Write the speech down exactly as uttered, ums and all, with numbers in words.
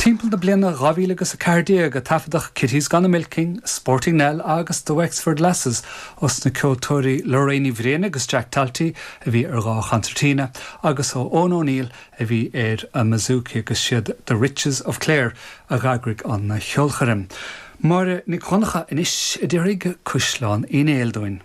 Timpeall na bliana dhá mhíle agus a ceathair déag a taifeadadh Kitty's Gone a-Milking, Sporting Nell agus The Wexford Lasses os na ceoltóirí Lorraine Ní Bhriain agus Jack Talty a bhí ar dhá chonsairtín agus ó Eoin O'Neill a bhí ar an mbouzouki agus siad The Riches of Clare a d'eagraigh an cheolchoirm. Máire Nic Dhonncha anois a déarfaidh Cuisleán Uí Néill dúinn.